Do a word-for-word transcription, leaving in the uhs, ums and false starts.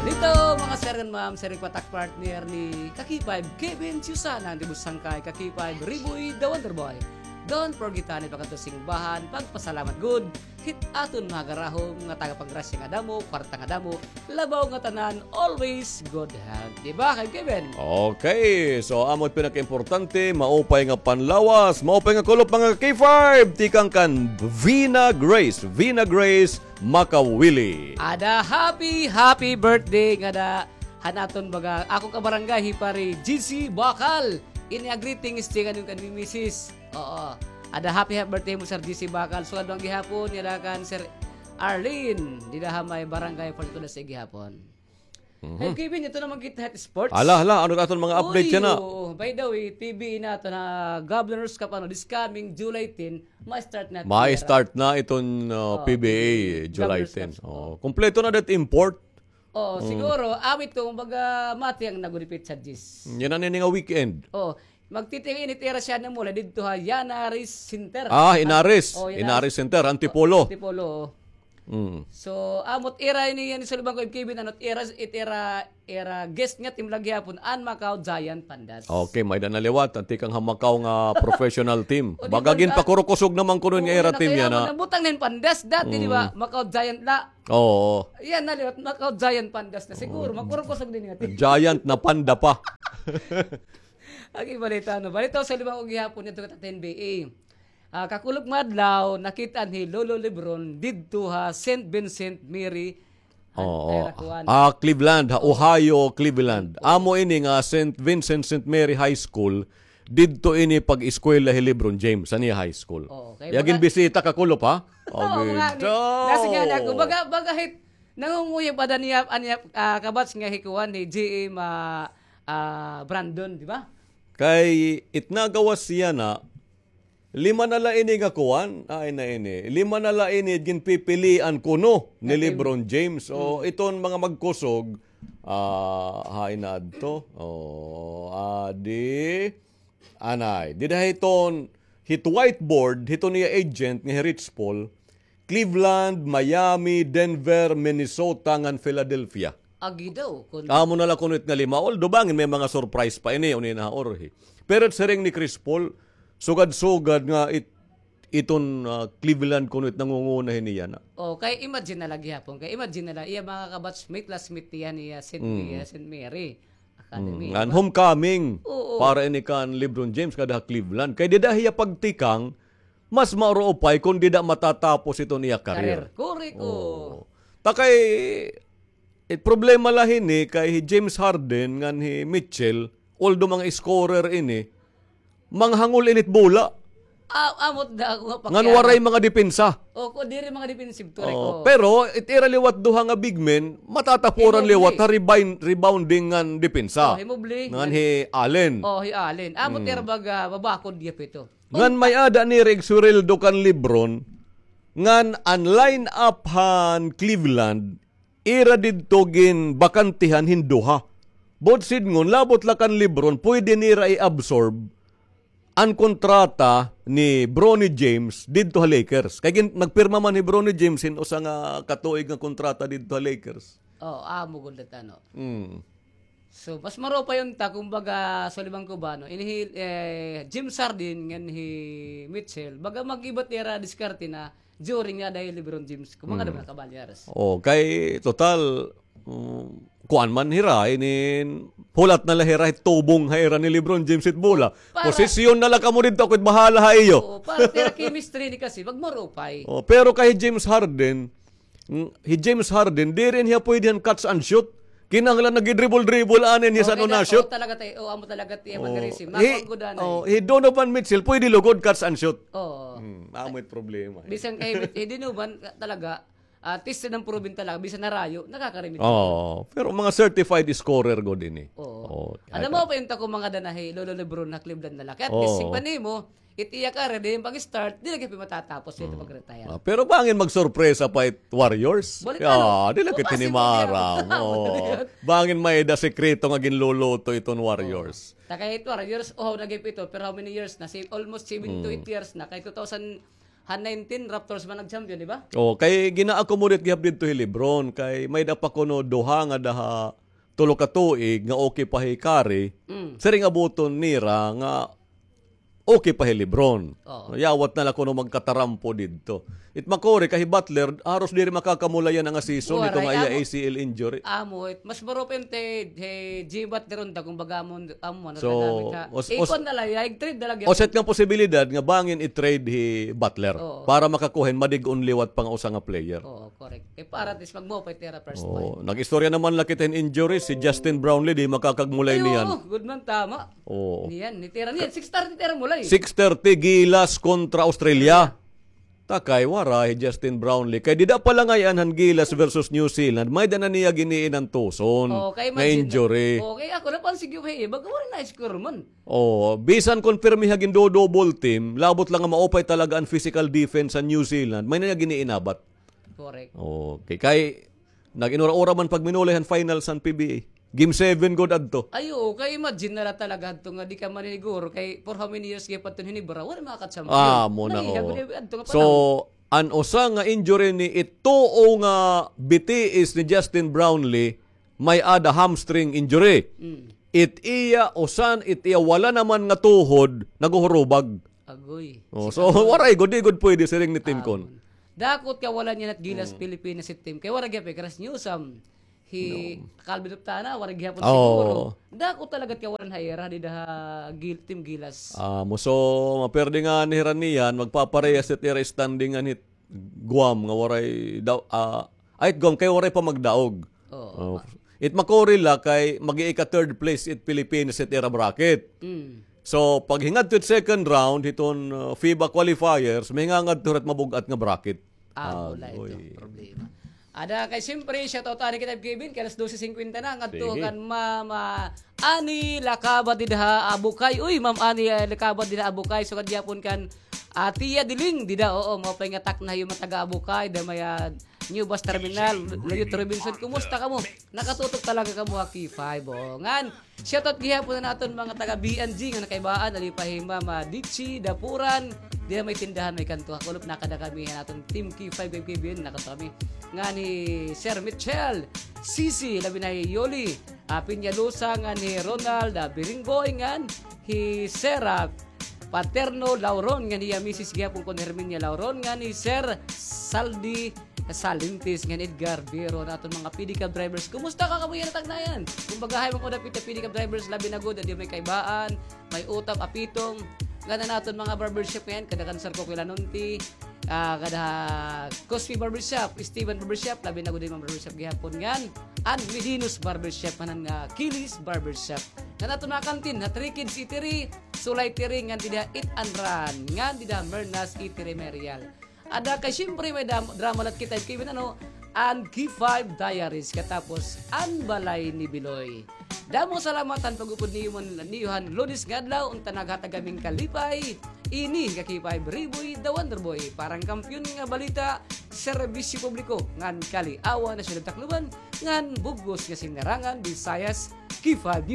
Dito, mga sir and ma'am, sir, patak partner ni Kaki Five, Kevin Susana, ang tibus sangkay, Kaki Five, Riboy, The Wonder Boy. Don't forget, ani, pagkadto simbahan, pagpasalamat gud, hit aton mga garahom nga taga paggrasya nga damo, kwarta nga damo, labaw nga tanan, always good health. Di ba, Kay Kevin? Okay, so amo it pinakaimportante, maupay nga panlawas, maupay nga kulop, mga K five, tikang kan Vina Grace, Vina Grace Makawili. Ada happy, happy birthday ngada han aton baga, akon kabarangay, hi Pare G C Bakal. Ini a greetings tikang kan misis. Oo. Ada happy, happy birthday mo, Sir G C Bakal. Sugad man gihapon, ngada kan Sir Arlene, dida ha may barangay forty-two da sa gihapon. Mhm. Ay, Kevin, ito naman kita ha sports. Hala, hala, ano aton mga update yana? Oo, by the way, P B A naton ha Governor's Cup, ano, this coming July ten, ma-start na. Ma-start na iton, uh, P B A, July ten. Governor's Cup. Oh, kompleto na that import. Oh, siguro, awit ko, kumbaga, mati ang nagulipit sa G I S. Yana ini nga weekend. Oh, magtitingin it ira siya na mula didto ha Yana Race Center. Ah, Inaris. Oh, Yana Race Center, Antipolo. Antipolo. Mm. So, amo it ira ini, yan, sa lubang ko, Kevin, ano, it ira, it ira, ira guest nga team la gihapon, an Macau Giant Pandas. Okay, may-ada na liwat, an tikang ha Macau nga professional team. O, di ba, baga ginpakurukusog naman kuno nga ira team yana. Nabutang na hin Pandas dati, di ba? Mm. Macau Giant la. Oo. Yan na liwat, Macau Giant Pandas na. Siguro, makurukusog din nga team. Giant na panda pa. Agi balita, no? Balita sa lubang ko gihapon, ito ka N B A. Ah, kakulop nga adlaw, nakit-an hi Lolo Lebron didto ha Saint Vincent Mary. Oo. Ah, Cleveland, ha Ohio, Cleveland. Oo. Amo ini nga Saint Vincent, Saint Mary High School. Didto ini pag-eskwela hi Lebron James, sa niya high school. Oo, kay iya ginbisita kakulop, ha? Oo, mga ni-, nasi nga na ako. Baga, baga hit, nangunguyab ada niya, an iya, ah, kabats nga hi kuan, hi G M, ah, ah, Brandon, di ba? Kay it nagawas yana, lima na la ini nga kuan, ay na ini. Lima na la ini ginpipilian kuno ni Lebron James. O, iton mga magkusog, ah, hain na adto. O, adi, anay. Dida hiton, hit whiteboard, hiton iya agent nga hi Rich Paul, Cleveland, Miami, Denver, Minnesota, ngan Philadelphia. Agi daw, kun- Amo na la kuno it nga lima. Although bangin may mga surprise pa ini, uni na ha orhi. Pero it siring ni Chris Paul, sugad-sugad nga it-, iton, ah, Cleveland kuno it nangunguna hini yana. O, kay imagine na la gihapon. Kay imagine na la, iya mga kabatchmate, classmate niya, niya, Saint, niya, Saint Mary Academy, di ba? Ngan homecoming para ini kan LeBron James ngada ha Cleveland. Kay dida hiya pagtikang, mas mauro upay kon dida matatapos iton iya career. Career. Correct, oo. Ta kay, it problema la hini kay hi James Harden ngan hi Mitchell, although mga scorer ini, manghangol ini it bola. Ah, amo it ako nga pakiana. Ngan waray mga depensa. O, ko, diri mga defensive, correct, oo. Pero it ira liwat duha nga big men, matatapuran liwat ha rebound-, rebounding ngan depensa. O, hi Mobley. Ngan hi Allen. O, hi Allen. Amo it ira baga, babakod gihap ito. Ngan may-ada ni Reg Sureldo kan LeBron, ngan an line-up han Cleveland, ira didto ginbakantehan hin duha. Buot sidngon, labot la kan LeBron, pwede nira i-absorb an kontrata ni Bronny James didto ha Lakers. Kay gin-, nagpirma man hi Bronny James hin usa nga katuig nga kontrata didto ha Lakers. O, amo gud la, ano. Mm. So, mas maupay unta, kumbaga, sa lubong ko ba, no? Ini hi, eh, James Harden ngan hi Mitchell, baga mag-iba it ira diskarte na during nga ada hi LeBron James. Kumbaga, mga kabalyers. O, kay total, um, kuan man hira, inin, hulat na la hira hit tubong ha ira ni LeBron James hit bola. Posisyon na la kamo didto, ako it bahala ha iyo. Oo, para it ira chemistry ini kasi, magmaupay. O, pero kay James Harden, Mm, hi James Harden, diri hiya pwede han catch and shoot. Kinahanglan nagidribble-dribble anay hiya san-o na-shoot. O, talaga tay, o, amo talaga tay, amo talaga tay, hi Donovan Mitchell, pwede lugod catch and shoot. Oo. Hmm, amo it problema, eh. Bisan kay hi Donovan, talaga, ah, tested and proven talaga, bisan narayo, nakakarimit. Oo, pero mga certified scorer gud ini. Oo. Ano mo pa yung tako mga danahi, Lolo LeBron na Cleveland na la. Kay at least, sigpa nimo, it iya career, di yung pag-start, di lagi pa matatapos ito pag-retire. Ah, pero bangin magsorpresa pa it Warriors. Balik, ano? Di lagi tinimaram. Bangin may-ada sekreto nga ginluluto iton Warriors. Ta kay it Warriors, o, nagip ito, pero how many years na? Si-, almost seven to eight years na. Kay two thousand, Han nineteen, Raptors man nag-champion, di ba? Oh, kay gina-accommodate gihap didto hi LeBron, kay may-ada pa kuno duha nga daha tulo ka tuig nga okay pa hi Curry. Mm. Siring abuton nira nga okay pa hi LeBron. Oo. Yawat na la kuno magkatarampo didto. It makuri kay hi Butler, haros diri makakamulay yana nga season, hito nga iya A C L injury. Amo, it mas maro pa it, hi Jimmy Butler unta, kumbaga, amo, amo, ano, so, tagamit ha. Ikon na la, ya, i-trade na la. Usa it nga posibilidad nga bangin i-trade hi Butler para makakuha hin madig-on liwat pa nga usa nga player. Oo, correct. Kay para at least magmaupay it ira first five. Oo, nag-istorya naman la kita hin injury, si Justin Brownlee, di makakagmulay niyan. Ay, oo, good man, tama. Oo. Niyan, nitira niyan. Six thirty tira mulay. Six thirty, Gilas kontra Australia. Takay, waray hi Justin Brownlee. Kay dida pa la ngay-an han Gilas versus New Zealand, may-ada na niya gin-iinantuson nga injury. Oo, kay imagine na. Oo, kay ako, napansin ko, hey, baga waray na score man. Oo, bisan kon pirmi ha gin-double team, labot la nga maupay talaga an physical defense han New Zealand, may-ada niya gin-iinabat. Correct. Okay, kay nag-inura-ura man pagminulay han finals han P B A. Game seven gud adto. Ay, oo, kay imagine na la talaga adto nga di ka maniniguro kay for how many years gihap adto hin Ginebra, waray makaka-champion. Ah, amo na, oo. So, an usa nga injury ni it tuo nga B T S ni Justin Brownlee, may-ada hamstring injury. Mm. It iya usan, it iya wala naman nga tuhod, naguhurubag. Agoy. Oh, so, waray gud, di gud pwede siring ni Tim Con. Dako it kawalan niyan han Gilas Pilipinas it Tim. Kay waray gihap, eh, Chris Newsome. Hi Calvin Optana, waray gihapon siguro. Dako talaga it kawalan ha ira, dida ha Gil-, Team Gilas. Ah, amo, so, maperde ngani hira niyan, magpaparehas it ira standing ngan hit Guam nga waray daw, ah, ay, Guam kay waray pa magdaog. Oo. Oh. It makuri la kay mag-iika-third place it Philippines it ira bracket. Mm. So, paghingadto it second round hiton, uh, FIBA qualifiers, mahingangadto hira hit mabug-at nga bracket. Ah, wala ito problema. Ada kay siyempre, shoutout anay kita, Kevin, kay alas dose singkwenta na, ngadto kan Mama Ani Lakabat dida ha Abukay. Uy, Ma'am Ani, eh, Lakabat dida ha Abukay. Sugad gihapon kan, ah, Tia Diling dida, oo, maupay nga takna hiyo mga taga Abukay, dida may, ah, New Bus Terminal, Luyot Robinson, kumusta kamo? Nakatutok talaga kamo ha K five, oo. Ngan, shoutout gihapon han aton mga taga B N G nga nakaibaan, ali pa hi Mama Dichi Dapuran, dida may tindahan, may kanto ha kulop, nakada kami han aton Team K five, K five, nakada kami. Ngan hi Sir Mitchell, Sisi, labi na hi Yoli, ah, Peñalosa, ngan hi Ronald, ah, Biringgoy, ngan hi Sir, ah, Paterno Lauron, ngan hiya misis gihapon kon Herminia Lauron, ngan hi Sir Saldi Salintis, ngan Edgar Biro, han aton mga pedicab drivers. Kumusta ka kamo yana, Tagnayan? Kumbaga, hay, mga dapit nga pedicab drivers, labi na gud, dida may Kaibaan, may Utap, Apitong, ngan an aton mga barbershop ngay-an, kada kan Sir Coco Lanonti, ah, kada Cosby Barbershop, Steven Barbershop, labi na gud an mga barbershop gihapon ngan, an Medino's Barbershop, ngan an, ah, Kilis Barbershop. Ngan aton mga kantin, ha Three Kids Eatery, Sulay Eatery, ngan dida Eat and Run, ngan dida Mernas Eatery Merial. Ada kay siyempre may dam-, drama la kita, Kevin, ano, an K five Diaries, katapos an Balay ni Biloy. Damo salamat han pag-upod niyo man, niyo han Lunes nga adlaw, unta naghatag kami hin kalipay. Ini nga K five Riboy, the Wonder Boy, para han kampiyon nga balita, serbisyo publiko, ngan kaliawan ha Syudad Tacloban, ngan bug-os nga sinarangan, Visayas, K five